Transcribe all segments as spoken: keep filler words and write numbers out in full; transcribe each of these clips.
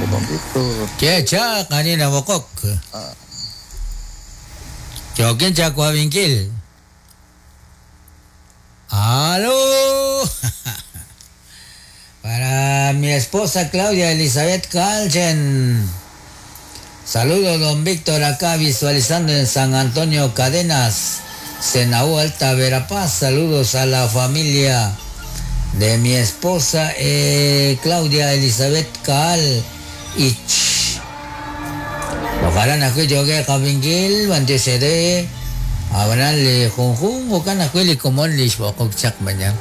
Don Víctor. Che chaq ani nab'oqok. Yookin chawabinkil. ¡Aló! Para mi esposa Claudia Elizabeth Calchen. Saludos, don Víctor, acá visualizando en San Antonio Cadenas, Senaú Alta Verapaz. Saludos a la familia de mi esposa eh, Claudia Elizabeth Caal Ich. Ojalá na yo que kabinkil, bantiosere, abanan li junjun, okan ajwi li komon li xb'oqok chaq mañan.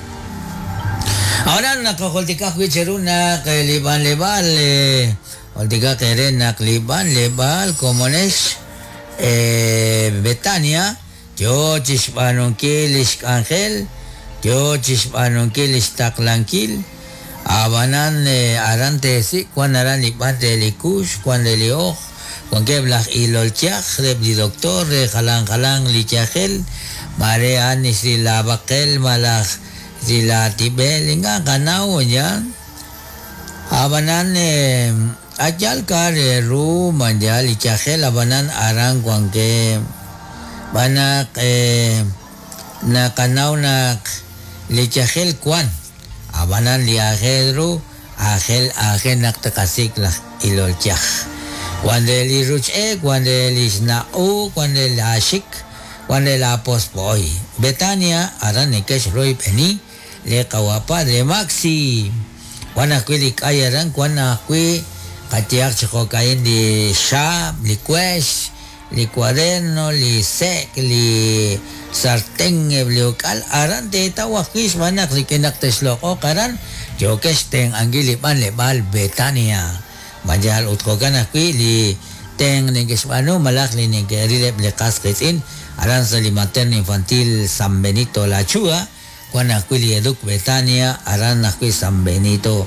Ahora nakakoltika ajwi cheruna que liban lebal, oltika kere nak liban lebal komonex eh, Betania, yo chixb'anunkil ixk'anjel, yo chixb'anunkil ixtaqlankil, abanan eh, aran teesik, kuan aran liban re li kux, kuan re li oj, kuan keb laj ilolchaj, reb li doctor, re jalan jalan li chajel, mare an ixri la baqel, malaj ri la tibel, inga kanaw yan. Abanan eh, ayal ka re ru manjal li chajel, abanan aran kuan ke banak eh, nakanaw nak li chajel kuan. Abanan li ajel ru, ajel ajel nak takasik laj ilolchaj. Cuando el iruche, cuando el isnau, cuando el ashik, cuando el apospoy. Betania, aran nekesh roy peni, le kawa padre Maxi. Cuando ajwi li kay aran, cuando ajwi katiak chijokain li shab, li kuesh, li cuaderno, li sek, li sartén, li okal, aran te tawakis, manak, li kinak tesloko, karan, yokesh ten angili ban le bal Betania. Manjal utkokan ajwi li ten nekexb'aanu malaj li neke'rileb li qas qitz'in aran sa li materno infantil San Benito La Chua kuan ajwi li Educ Betania aran ajwi San Benito.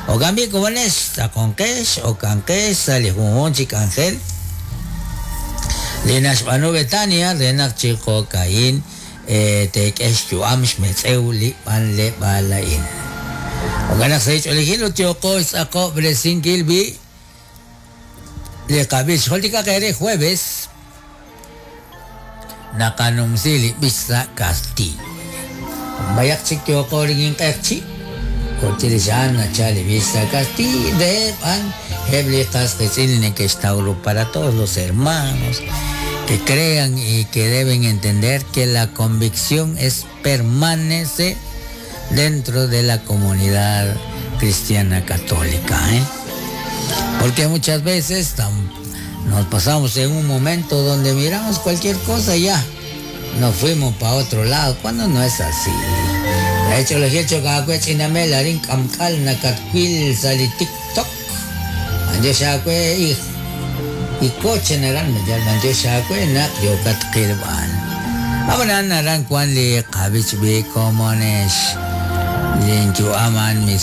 Okambi komones taqonqex okanqex sa li junjun chik ángel li naxb'aanu Betania re naq chiqokain eh, teek'ex yu'am xmetz'ew li b'an le b'ala'in. Okanaq sa ich'olijil ut yooqo ixtz'aqo bresinkil bi li qab'ix joltika qere jueves naqanumsi li b'ix sa Castillo. Bayak chik yooqo rigin q'eqchi kochirixan nacha li b'ix sa Castillo de b'an heb li qas qitz'in nekextawru para todos los hermanos que crean y que deben entender que la convicción es permanece dentro de la comunidad cristiana católica, ¿eh? Porque muchas veces tam, nos pasamos en un momento donde miramos cualquier cosa y ya nos fuimos para otro lado, cuando no es así. De hecho, les he hecho sali TikTok. Y y coche naran nak yokat qilban. Abanan naran kuan li qabich bi komonesh. Linchu aman mis